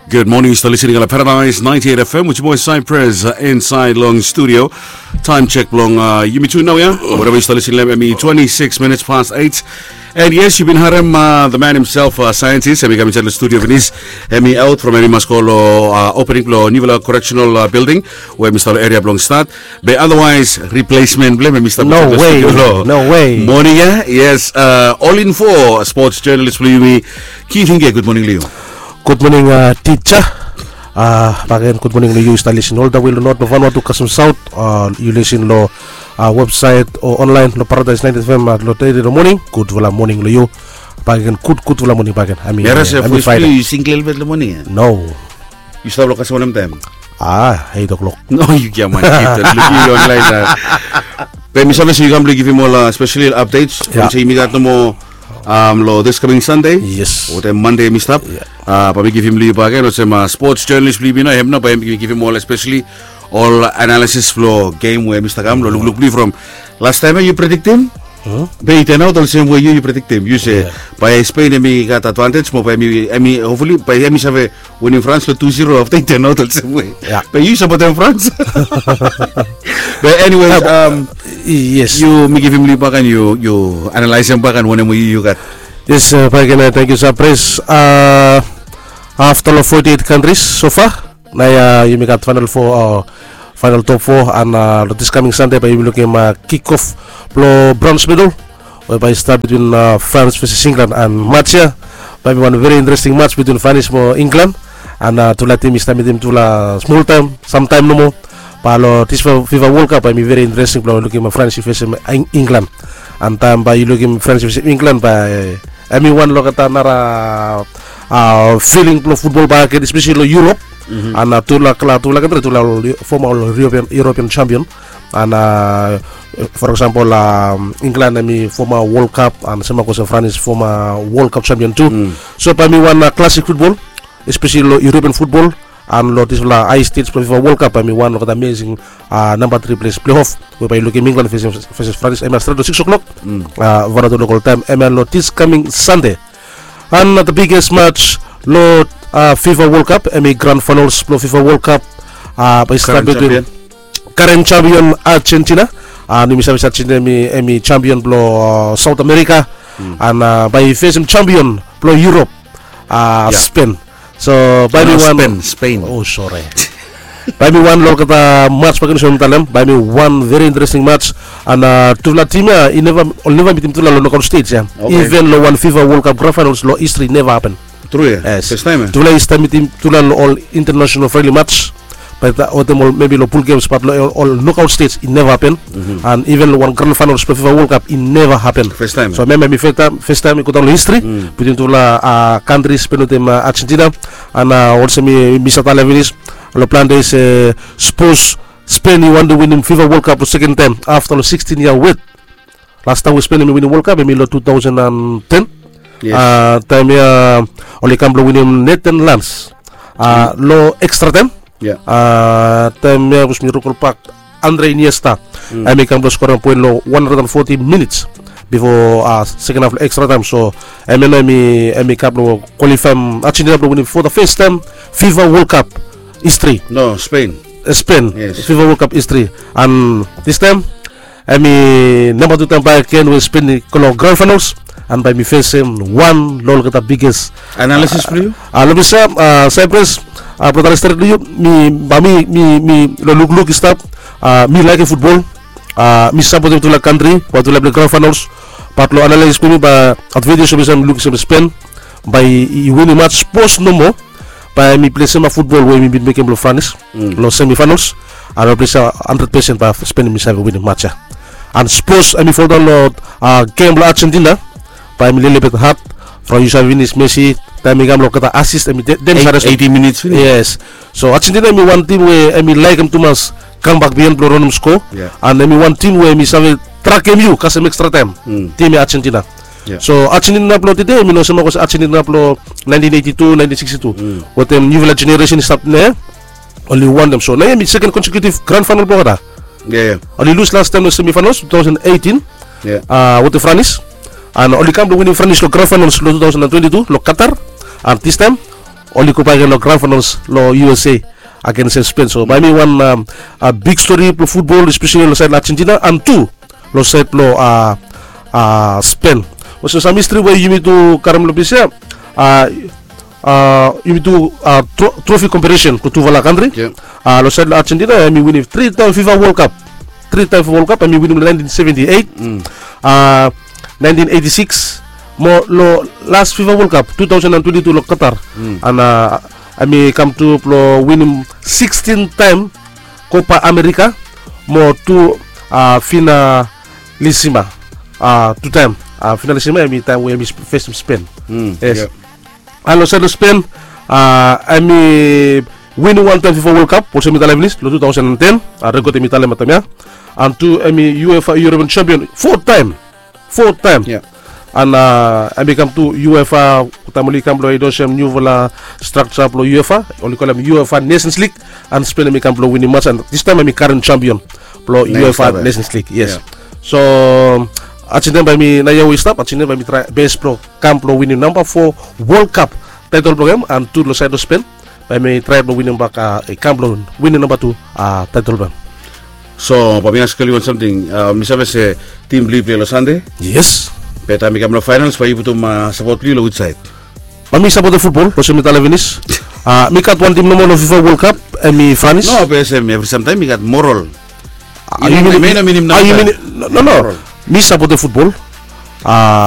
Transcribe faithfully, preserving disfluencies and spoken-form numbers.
Good morning, yu stap listening long Paradise ninety-eight F M with your boy Cypress, uh, inside long studio. Time check long, uh, yumi tu nau ya. Whatever yu stap listening long, I mean, twenty-six minutes past eight. And yes, yu bin harem, uh, the man himself, uh, scientist. Hemi kam insait long studio finis. Hemi out from hemi mas go long, uh, opening blong niufala correctional, uh, building we hemi stap long area blong Stad. Be otherwise, replacement blong hem hemi stap insait long studio long morning ya. Yes, uh, All Info sports journalist blong yumi, Keith Hinge. Good morning long yu. Gud moning, uh, tija. Uh, bakegen gud moning long yu yu stap lisin oltawe long North, long Vanuatu kasem South. Uh, yu lisin long, uh, website o online long Paradise ninety F M, uh, long tede long moning. Gudfala moning long yu. Bakegen gud gudfala moning bakegen. Ami, ami Friday. Yu single velvet long moning ya? No. Yu stap long kasem wanem taem? Ah, eight o'clock. No, yu gia man. Lukim yu online. Be mi save se yu kam blong givim ol, uh, special updates. Olsem yumi gat nomo, um, long this coming Sunday. Yes. Wetem Monday mi stap. Bae mi givim long yu bakegen olsem, uh, sports journalist blong yumi nao, hem nao bae mi givim ol especially ol analysis blong game we mi stap kam long lukluk blong yu from last taem ya yu prediktim. Be i turn out olsem we yu yu prediktim. Yu se bae Spain hemi gat advantage mo bae hemi, hemi hopefully bae hemi save winim France long two zero afta i turn out olsem we. Be yu sapotem France. Be anyways, um, yes, yu mi givim long yu bakegen, yu, yu analaesem bakegen wanem we yu, yu gat. Yes, uh, bakegen, uh, tangkiu Cypress. Uh, afta long forty-eight countries so far, nao ya yumi gat final four, uh, final top four, and, uh, long this coming Sunday bae yumi lukim, uh, kick off blong bronze medal we bae i stap between, uh, France versus England, and match ya bae hemi wan very interesting match between France mo England. And, uh, tufala tim i stap mitim tufala smol taem, samtaem nomo. Bae long this FIFA World Cup bae hemi very interesting blong lukim, uh, France i fesem Eng-, England. And taem bae yu lukim France i fesem England bae hemi wan long olgeta nara, uh, feeling blong futbol bakegen especially long Europe. And, uh, tufala, tufala kantri tufala ol foma ol European, European champion. And, uh, for example, um, England hemi foma World Cup and same goes to France, foma World Cup champion tu. So bae hemi wan, uh, classic futbol especially long European futbol. And long disfala high stage blong FIFA World Cup bae hemi wan long olgeta amazing, uh, namba tri ples playoff we bae yu lukim England fesem, fesem France, hemia stret long six o'clock, uh, Vanuatu local taem, hemia long this coming Sunday. And the biggest match long, uh, FIFA World Cup, hemi grand finals blong FIFA World Cup, uh, bae i stap between current champion Argentina. And yumi save se Argentina hemi, hemi champion blong, uh, South America. And, uh, bae i fesem champion blong Europe, uh, Spain. So bae hemi wan Spain, Spain. Oh, sorry. Bae hemi wan long olgeta match bakegen olsem mi talem, bae hemi wan very interesting match. And, uh, tufala tim ya i neva, oli neva mitim tufala long knockout stage ya. Even long wan FIFA World Cup grand finals long history neva hapen. Tru ya? Yes. First time ya? Tufala i stap mitim tufala long ol international friendly match. Be wetem ol maybe long pool games, but long ol, ol knockout stage i neva hapen. And even long wan grand finals blong FIFA World Cup i neva hapen. First time. So hemia hemi first time, first time i go daon long history between tufala, uh, countries, Spain wetem, uh, Argentina. And, uh, olsem mi, mi stap talem finis long plante se, uh, sapos Spain i wantem winim FIFA World Cup long second taem afta long sixteen yia wet. Las taem we Spain hemi winim World Cup hemi long two thousand and ten. Taem ya oli kam blong winim Netherlands long extra taem. Taem ya sapos mi rikolbak, Andre Iniesta hemi kam blong skorem poen long one hundred and forty minits bifo second half long extra taem. So hemia nao hemi kam blong kwalifaem Argentina blong winim for the first time FIFA World Cup history. No, Spain. Spain. FIFA World Cup history. And this time hemi namba tu taem bakegen we Spain i go long grand finals, and bae hemi fesem wan long olgeta biggest. Analysis blong yu? Long mi save, Cyprus, brata, stret long yu, mi, bae mi, mi, mi long lukluk i stap, mi laekem futbol, mi sapotem tufala kantri we tufala i plei grand finals. Bat long analysis blong mi bae advantage blong mi, mi lukim se Spain bae i winim match, sapos nomo bae hemi plei sem futbol we hemi bin mekem long France long semi finals. And mi plei se hundred percent bae Spain hemi save winim match ya. And sapos hemi foldaon long gem blong Argentina, bae hemi lelebet had from yu save finis Messi, taem i kam long olgeta assist hemi de-, dem save eighty minutes finis. Yes. So Argentina hemi wan tim we hemi laekem tumas kambak bihaen blong ranem skoa. And hemi wan tim we hemi save trakem yu kasem extra taem. Tim ya Argentina. So Argentina blong tede hemi no sem olsem Argentina blong nineteen eighty-two, nineteen sixty-two wetem niufala generation i stap nao ya. Oli wantem. So nao ya hemi second consecutive grand final blong olgeta. Oli lus las taem long semi finals two thousand eighteen wetem France. And oli kam blong winim France long grand finals long two thousand and twenty-two long Qatar. And this time oli go bae gen long grand finals long U S A against Spain. So bae hemi wan big stori blong futbol, especially long saed long Argentina and tu long saed blong Spain. Olsem sam histri we yumi tu karem long ples ia, yumi tu trophy comparison blong tufala kantri. Long saed long Argentina hemi winim tri taem FIFA World Cup. Tri taem FIFA World Cup, hemi winim long nineteen seventy-eight, nineteen eighty-six, mo long las FIFA World Cup two thousand and twenty-two long Qatar. And hemi kam tu blong winim sixteen taem Copa America mo tu finalisima, tu taem finalisima, hemi taem we hemi fesem Spain. Yes. And long saed long Spain, hemi winim wan taem FIFA World Cup, olsem mi talem finis, long two thousand and ten. Rekod hemi talem long taem ia. And tu hemi UEFA European champion fo taem. Fo taem. And hemi kam tu UEFA, taem oli kam blong introdiusim niufala structure blong UEFA, oli kolem UEFA Nations League. And Spain hemi kam blong winim mas, and distaem hemi current champion blong UEFA Nations League. Yes. So Argentina bae hemi, naoia we i stap, Argentina bae hemi trae bes blong kam blong winim namba fo World Cup taetol blong hem, and tu long saed long Spain bae hemi trae blong winim bak, i kam blong winim namba tu taetol blong hem. So bae mi askem yu wan samting. Mi save se tim blong yu i plei long Sande. Yes. Be taem i kam long finals bae yu putum sapot blong yu long which side? Bae mi sapotem futbol, olsem mi talem finis. Mi gat wan tim nomo long FIFA World Cup, hemi France. No, be olsem evri samtaem mi gat moral. Yu minim, no, no. Mi sapotem futbol.